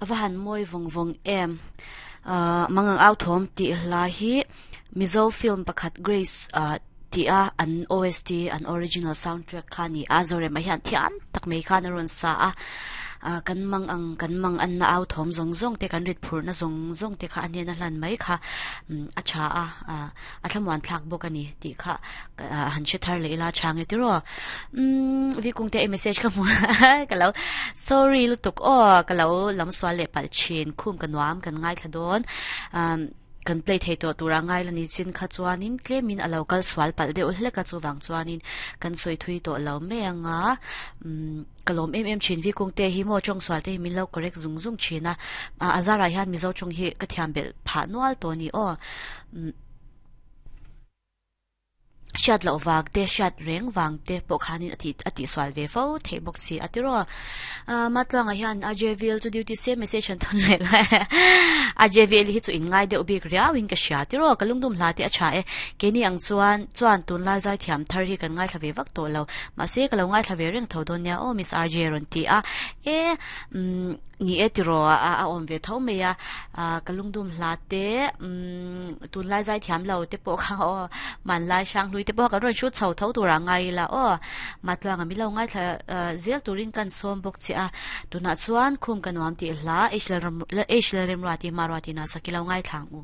A va han mawi vawng vawng em. Ahh Mangang Au Thawm tih hla hi Mizo film pakhat Grace ah tih a an OST an original soundtrack kha a ni a, Zorema hian thiam tak mai khan a rawn sa a. Ah kan mang ang kan mang anna au thawm zawng zawng te kan rit phurhna zawng zawng te kha a hnena hlan mai kha a tha a ah a thlamuan thlak bawk a ni tih kha ah han hre thar leh ila tha nge tiraw umm Vikungte i message ka hmu ka lo sorry lutuk aw ka lo lam sual leh palh thin khum ka nuam kan ngaithla dawn ah kan play thei tawh tur a ngai la ni chin kha chuanin tlemin a lo kal sual palh deuh hlek a chuvang chuanin kan sawi thui tawh lo mai anga umm ka lawm em em thin Vikungte hi maw tawng sual te hi min lo correct zung zung thin a ah a zarah hian Mizo tawng hi ka thiam belh phah nual tawh a ni aw umm. Hriat loh vang te, hriat reng vang te pawh khanin a tih a tihsual ve fo theih bawk si a tiraw. Ahh Matluanga hian AJVL chu duty se message an thawn leh lai a, AJVL hi chu in ngai deuh bik riauin ka hria tiraw, ka lungdum hla te a tha e. Keini ang chuan chuan tunlai zaithiam thar hi kan ngaithla ve vak tawh lo, mahse ka lo ngaithla ve reng tho dawn nia aw Miss RJ rawn ti a, e umm Ni e tiraw a a awm ve tho mai a, ah ka lungdum hla te umm tunlai zaithiam lo te pawh kha aw hmanlai hranghlui te pawh kan rawn hrut chho tho tur ah ngai ila aw Matluanga min lo ngaithla zel turin kan sawm bawk che a, tunah chuan khum ka nuam tih hla H Lalremruati Hmaruati Nasaki lo ngaithla ang u.